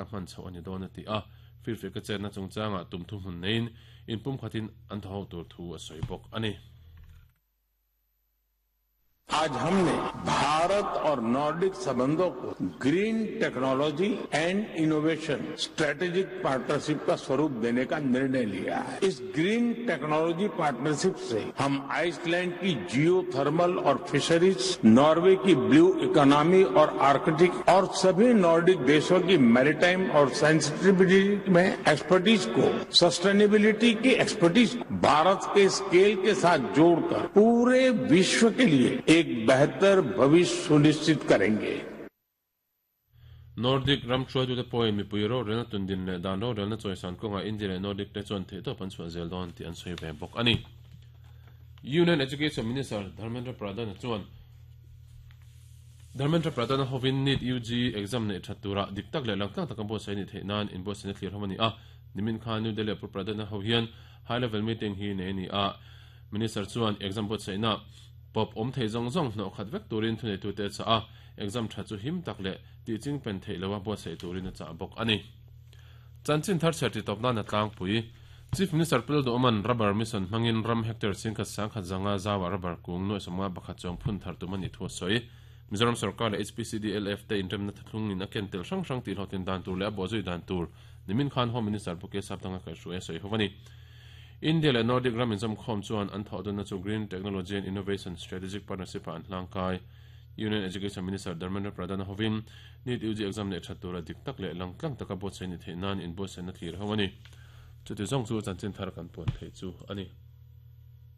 hman chhoh a ni dawn a ti a, firfiaka chetna chungchangah tum thuhmun neiin inpumkhatin an thaw ho tur thu a sawi bawk a ni. आज हमने भारत और Nordic संबंधों को green technology and innovation strategic partnership का स्वरूप देने का निर्णय लिया है। इस green technology partnership से हम आइसलैंड की जियो थर्मल और फिशरीज, नॉर्वे की ब्लू इकोनॉमी और आर्कटिक और सभी नॉर्डिक देशों की मैरीटाइम और सेंसिटिविटी में एक्सपर्टीज को, सस्टेनेबिलिटी की एक्सपर्टीज भारत के स्केल के साथ जोड़कर पूरे विश्व के लिए एक बेहतर भविष्य सुनिश्चित करेंगे। Nordic ram hruaitute pawhin mipui rorelna tundin leh dan rorelna chawisan kawngah India leh Nordic te chuan theihtawp an chhuah zel dawn tih an sawi ve bawk a ni. Union Education Minister Dharmendra Pradhan chuan Dharmendra Pradhan hovin NEET UG exam neih that tura dik tak leh langtlang taka buatsaih a nih theih nan inbuatsaihna thlir ho a ni a. Nimin khan New Delhi-ah Pu Pradhan ho hian high level meeting hi nei a ni a. Minister chuan exam buatsaihna pawp awm thei zawng zawng hnawh khat vek turin thuneitute a chah a, exam tha chu him tak leh tih ching pen theih loa buatsaih turin a chah bawk a ni. Chanchin thar chhiar titawp nan a tlangpui. Chief Minister Pu Lalduhawma'n Rubber Mission hmangin ram hectare chingkhat sangkhat zanga zauah rubber kung nuaih 51 chuang phun thar tum a nih thu a sawi. Mizoram sorkar leh HPCDLF te inremna thlungin a ken tel hrang hrang tihhlawhtlin dan tur leh a bawhzui dan tur nimin khan Home Minister Pu Kesapdanga kaihhruai a sawi ho a ni. India leh Nordic ram inzawmkhawm chuan an thawhdawnna chu Green Technology and Innovation Strategic Partnership-ah an hlangkai. Union Education Minister Dharmendra Pradhan hovin NEET UG exam leh that tura dik tak leh langtlang taka buatsaih ni theih nan inbuatsaihna thlir ho a ni. Chuti zawng chu chanchin thar kan puan theih chu a ni.